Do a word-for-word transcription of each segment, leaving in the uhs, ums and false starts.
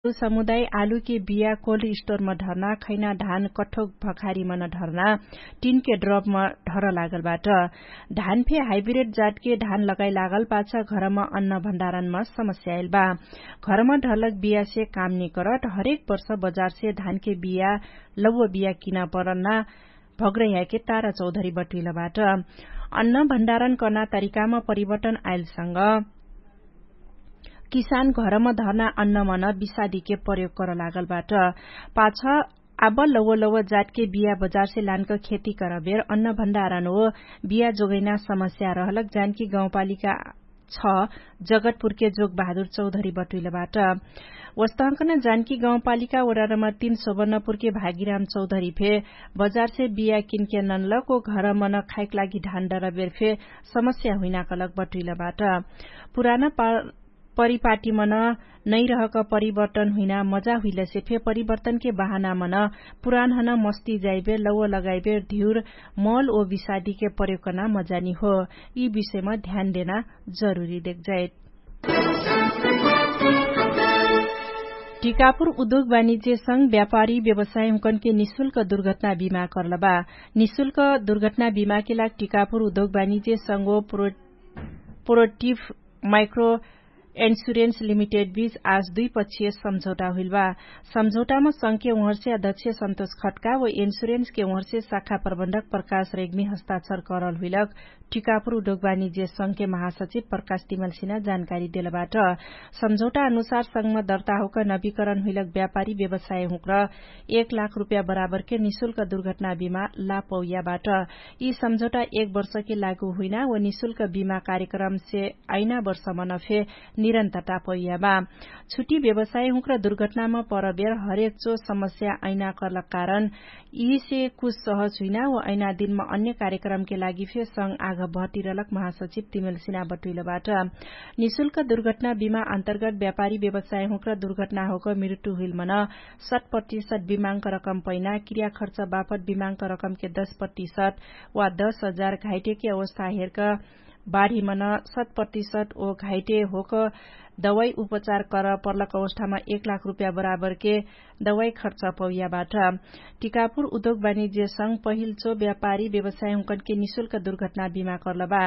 समुदाय आलुके बिया कोल्ड स्टोरमा ढर्ना खैना धान कठोक भखारीमन ढर्ना टिनके ड्रपमा ढर लागल बाट। धान फे हाइब्रेड जातके धान लगाइ लागल पाछ घरमा अन्न भण्डारणमा समस्या आइल बा। घरमा ढर्लक बियासे काम निकरत हरेक वर्ष बजारसे धानके बिया लौव बिया किना परना भग्रह्याके तारा चौधरी बटुइलबाट। अन्न भण्डारण कर्ना तरिकामा परिवर्तन आइलसँग किसान घरम धर्ना अन्नमन विषादीके प्रयोग कर लागल बाट। पाछ आब लौव लौव जातके बिया बजारसे लानक खेती करबेर अन्न भण्डारण हो बिया जोगैना समस्या रहलक जानकी गाउँपालिका छ जगतपुरके जोग बहादुर चौधरी बटुइल बाट। वस्तहकन जानकी गाउँपालिका वडा नम्बर तीन सोबर्णपुरके भागीराम चौधरी फे बजारसे बिया किनके ननलक ओ घरमन खाइक लागि ढान डरबेर फे समस्या हुइना कलक बटुइल बाट। पुराना परिपाटीमन नैरहक परिवर्तन हुइना मजा हुइलसे फे परिवर्तनके बहानामन पुरानहन मस्ती जाइबेर लौव लगाइबेर धिउर मल ओ विषादीके प्रयोगकना मजानी हो। यि विषयमा ध्यान देना जरुरी देखजाइत। टिकापुर उद्योग वाणिज्य संग व्यापारी व्यवसाय हुँकनके निशुल्क दुर्घटना बिमा कर्लबा। निशुल्क दुर्घटना बिमाके लाग टिकापुर उद्योग वाणिज्य संगो प्रोटिभ माइक्रो इन्सुरेन्स लिमिटेड बीच आज दुई पक्षीय सम्झौटा हुइलबा। सम्झौटामा संघके उहर्षे अध्यक्ष सन्तोष खट्का व इन्सुरेन्सके उहर्षे शाखा प्रबन्धक प्रकाश रेग्मी हस्ताक्षर करल हुइलक टिकापुर उद्योग वाणिज्य संघके महासचिव प्रकाश तिमलसिना जानकारी देलबाट। सम्झौटा अनुसार संघमा दर्ताहुक नवीकरण हुइलक व्यापारी व्यवसाय हुँक्र एक लाख रुपया बराबरके निशुल्क दुर्घटना बिमा लापौयाबाट। यि सम्झौटा एक वर्षके लागु हुइना व निशुल्क बिमा कार्यक्रमसे आइना वर्षमन फे निरन्तरता पौयाबा। छुट्टी व्यवसाय हुँक्र दुर्घटनामा परबेर हरेक चो समस्या आइना कर्लक कारण यिसे कुछ सहज हुइना व आइना दिनमा अन्य कार्यक्रमके लागि फे संग आघ भर्तिरलक महासचिव तिमेलसिना बटुइलबाट। निशुल्क दुर्घटना बिमा अन्तर्गत व्यापारी व्यवसाय हुँक्र दुर्घटना होक मिरुटु हुइलमन सत प्रतिशत बिमाङ्क रकम पैना क्रिया खर्च बापत बिमाङ्क रकमके दस प्रतिशत वा दस हजार घाइटेके अवस्था हेर्क बाढीमन सत प्रतिशत ओ घाइटे होक दवाई उपचार कर पर्लक अवस्थामा एक लाख रुपया बराबरके दवाई खर्च पौयाबाट। टिकापुर उद्योग वाणिज्य संग पहिलचो व्यापारी व्यवसाय हुँकनके निशुल्क दुर्घटना बिमा कर्लबा।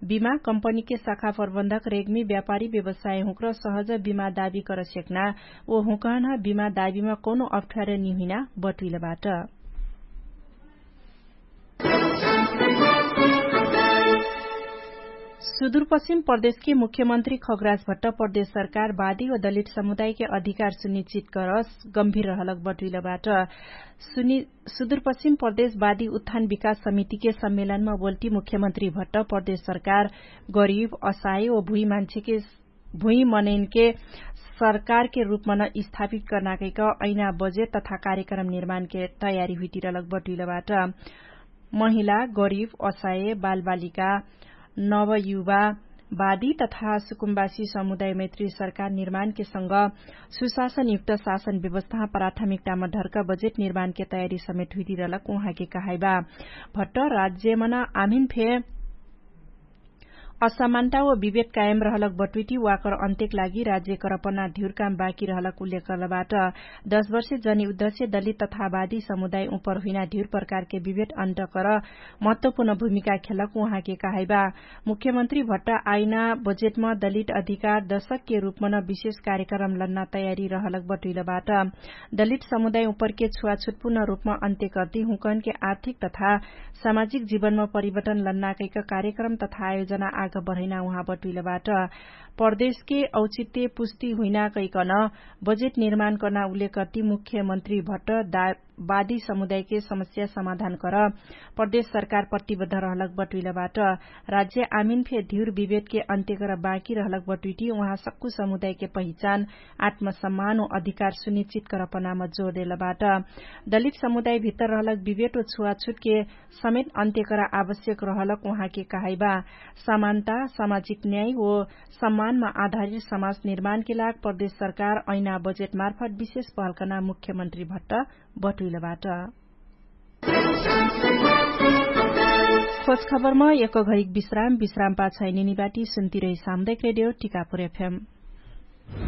बिमा कम्पनीके शाखा प्रबन्धक रेग्मी व्यापारी व्यवसाय हुँक्र सहज बिमा दाबी कर सेक्ना ओ हुँकहन बिमा दाबीमा कौनो अप्ठ्यार निहुइना बटुइलबाट। सुदुरपश्चिम प्रदेशके मुख्यमन्त्री खगराज भट्ट प्रदेश सरकार बादी व दलित समुदायके अधिकार सुनिश्चित करस गम्भीर रहलक बटुइलबाट। सुदुरपश्चिम प्रदेश बादी उत्थान विकास समितिके सम्मेलनमा बोल्टी मुख्यमन्त्री भट्ट प्रदेश सरकार गरिब असाय व भुइँ मान्छेके भुइँ मनैनके सरकारके रुपमन स्थापित कर्नाकैक ऐना बजेट तथा कार्यक्रम निर्माणके तयारी हुइतिरलक बटुइलबाट। महिला गरिब असाय बालबालिका नवयुवा बादी तथा सुकुम्बासी समुदाय मैत्री सरकार निर्माणके संग सुशासनयुक्त शासन व्यवस्था प्राथमिकतामा ढर्क बजेट निर्माणके तयारी समेत हुइतिरलक उहाँके कहाइबा। भट्ट राज्यमन आमिन फे असमानता व विभेद कायम रहलक बटुइटी वाकर अन्त्यक लागि राज्य करपना धिउर काम बाकी रहलक उल्लेख करलबाट। दश वर्षे जनी उद्दश्य दलित तथा बादी समुदाय उपर हुइना धिउर प्रकारके विभेद अन्त कर महत्वपूर्ण भूमिका खेलक उहाँके कहाइबा। मुख्यमन्त्री भट्ट आइना बजेटमा दलित अधिकार दशकके रुपमन विशेष कार्यक्रम लन्ना तयारी रहलक बटुइलबाट। दलित समुदाय उपरके छुवाछुटपूर्ण रुपमा अन्त्य कर्ति हुँकनके आर्थिक तथा सामाजिक जीवनमा परिवर्तन लन्नाकैक कार्यक्रम तथा आयोजना आग बढैना उहाँ बटुइलबाट। प्रदेशके औचित्य पुष्टि हुइनाकैकन बजेट निर्माण कर्ना उल्लेख कर्ति मुख्यमन्त्री भट्ट बादी समुदायके समस्या समाधान कर प्रदेश सरकार प्रतिबद्ध रहलक बटुइलबाट। राज्य आमिन फे धिउर विभेदके अन्त्य कर बाँकी रहलक बटुइटी उहाँ सक्कु समुदायके पहिचान आत्मसम्मान ओ अधिकार सुनिश्चित करपनाम जोर देलबाट। दलित समुदाय भित्तर रहलक विभेद ओ छुवाछुटके समेत अन्त्य करा आवश्यक रहलक उहाँके कहाइबा। समानता सामाजिक न्याय ओ सम्मानमा आधारित समाज निर्माणके लाग प्रदेश सरकार ऐना बजेट मार्फत विशेष पहलकना मुख्यमन्त्री भट्ट बटुइलबाट। खोज खबरमा एक घरिक विश्राम विश्राम पाछाइ निनिबाटी सुन्तिरही सामुदायिक रेडियो टिकापुर एफएम।